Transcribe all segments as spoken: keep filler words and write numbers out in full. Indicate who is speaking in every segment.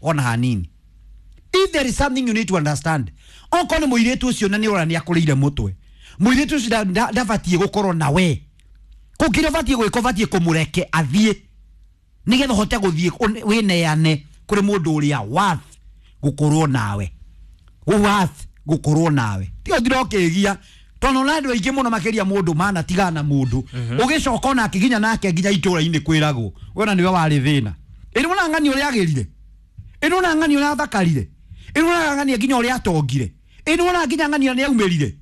Speaker 1: Ona hanini. If there is something you need to understand, okorwo nĩ mũirĩtu ũcio na nĩ ũra nĩ akũrĩire mũtwe, mũirĩtu ũcio ndabatiĩ gũkorwo na we. Kũu kĩrĩa ũbatiĩ gwĩka, ũbatiĩ kũmũreke athiĩ nĩgetha ũhote gũthiĩ wĩneane kũrĩ mũndũ ũrĩa worth gũkorwo nawe, worth gũkorwo nawe. Tiga ũthire ũkĩgia tondũ na andũ aingĩ mũno makĩria mũndũ mana tigana na mũndũ ũgĩcoka onake nginya nake nginya itũra-inĩ kwĩragwo wena nĩwe warĩ thĩna. Ĩ nĩwona ng'ani ũrĩa agĩrire, ĩ nĩwona ng'ani ũrĩa athakarire, ĩ nĩwona ng'ani nginya ũrĩa atongire, ĩ nĩwona nginya ng'ani nĩ aumĩrire,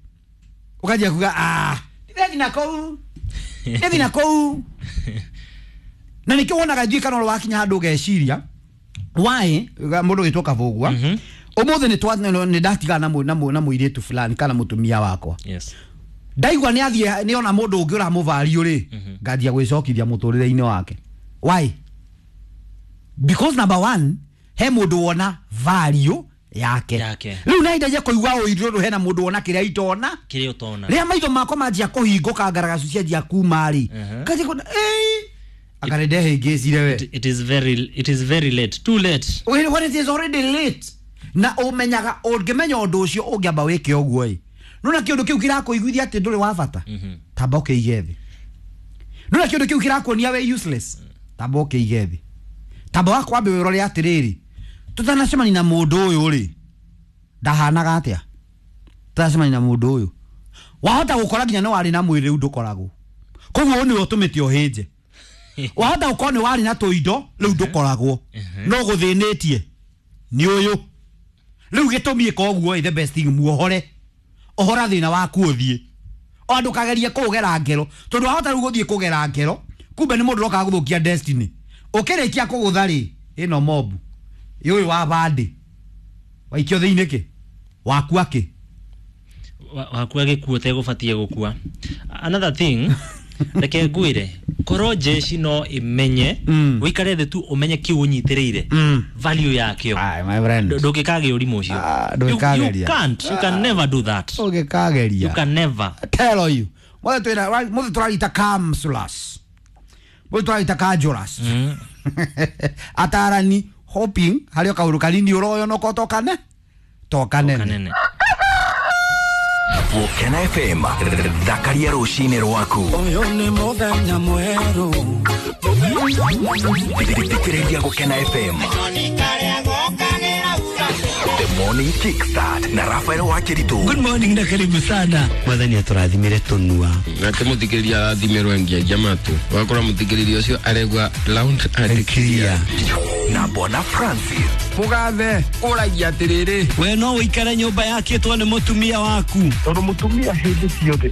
Speaker 1: ũkanjia kuga ah ndirethi na kũu, ndirethi na kũu. Na nĩkĩo wonaga ithuĩ kana ũrĩa wakinya handũ ũgeciria why mũndũ wĩtwo Kabũgua ũmũthĩ nĩ twa nĩ ndatigana na na mũirĩtu fulani kana mũtumia wakwa.
Speaker 2: Yes.
Speaker 1: Ndaigua nĩ athiĩ nĩ ona mũndũ ũngĩ ũramũvario rĩ, nganjia gwĩcokithia mũtũrĩre-inĩ wake. Why? Because number one, he mũndũ wona value yake.
Speaker 2: Yake.
Speaker 1: Rĩu na indagia kũigua ũiru ũndũ hena mũndũ wona kĩrĩa itona.
Speaker 2: Kĩrĩa ũtona.
Speaker 1: Rĩrĩa maitho makwa manjia kũhingũka ngaragacu cianjia kuma rĩ, nganjia kuona ĩĩ akare ndehĩngĩcire we.
Speaker 2: It, it is very it is very late. Too late.
Speaker 1: When, when it is already late. Na ũmenyaga ũngĩmenya ũndũ ũcio ũngĩamba wĩke ũguo ĩ, nona kĩũndũ kĩu kĩrakũiguithia atĩ ndũrĩ wa bata, tamba ũkĩige thĩ. Nona kĩũndũ kĩu kĩrakuonia we useless, tamba ũkĩige thĩ. Tamba wakwambe wĩrore atĩrĩrĩ, tũtanacemania na mũndũ ũyũ rĩ, ndahanaga atĩa? Tũtanacemania na mũndũ ũyũ, wahota gũkora nginya nĩ warĩ na mwĩrĩ rĩu ndũkoragwo, koguo nĩwe ũtũmĩte ũhĩnje. Wahota gũkorwo nĩ warĩ na tũindo rĩu ndũkoragwo, no gũthĩnĩtie nĩ ũyũ. Rĩu gĩtũmi ĩka ũguo ĩ, the best thing muohore, ohora thĩna waku ũthiĩ, o ndũkagerie kũgera ngero, tondũ wahota rĩu gũthiĩ kũgera ngero kumbe nĩ mũndũ ũrokaga gũthũkia destiny. Ũkĩrĩkia kũgũtha rĩ, ĩno mobu ũyũ wa bandĩ waikio thĩinĩ kĩ wakua kĩ
Speaker 2: wakua gĩkuo ũtegũbatiĩ gũkua. Another thing, reke ngwĩre, korwo jeshi no ĩmenye,
Speaker 1: Mm.
Speaker 2: ũikare thĩ tu ũmenye kĩu ũnyitĩrĩire,
Speaker 1: Mm.
Speaker 2: value yakĩo,
Speaker 1: Aye, my friend.
Speaker 2: ndũngĩkagĩa ũrimũ ũcio.
Speaker 1: Ah,
Speaker 2: You-
Speaker 1: ndũngĩkageria.
Speaker 2: you can't, you can never do that.
Speaker 1: Ũngĩkageria.
Speaker 2: You can never.
Speaker 1: Tell you. Mothe twĩna mothe tũrarita counselors. Mothe tũrarita conjurers.
Speaker 2: Mm.
Speaker 1: Atarani hoping harĩ o kaũndũ kanini ũroyonoka tokane tokanene.
Speaker 2: Kanene.
Speaker 3: Gũkena F M, thakaria rũcinĩ rwaku.
Speaker 4: Ũyũ nĩ mũthenya mwerũ.
Speaker 3: Thikĩrĩria Gũkena F M. The Morning Kickstart na Rafael Wakiritu.
Speaker 4: Good morning na karibu sana.
Speaker 5: Mwathani atũrathimire tũnua.
Speaker 6: Nake mũthikĩrĩria arathimĩrwo engiagia matũ, ũgakora mũthikĩrĩria ũcio aregua loud and clear.
Speaker 3: Na Bwana Francis.
Speaker 6: Mũgathe ũragia atĩrĩrĩ,
Speaker 4: We no ũikare nyũmba yakĩtwo nĩ mũtumia waku.
Speaker 7: Tondũ mũtumia hĩndĩ ciothe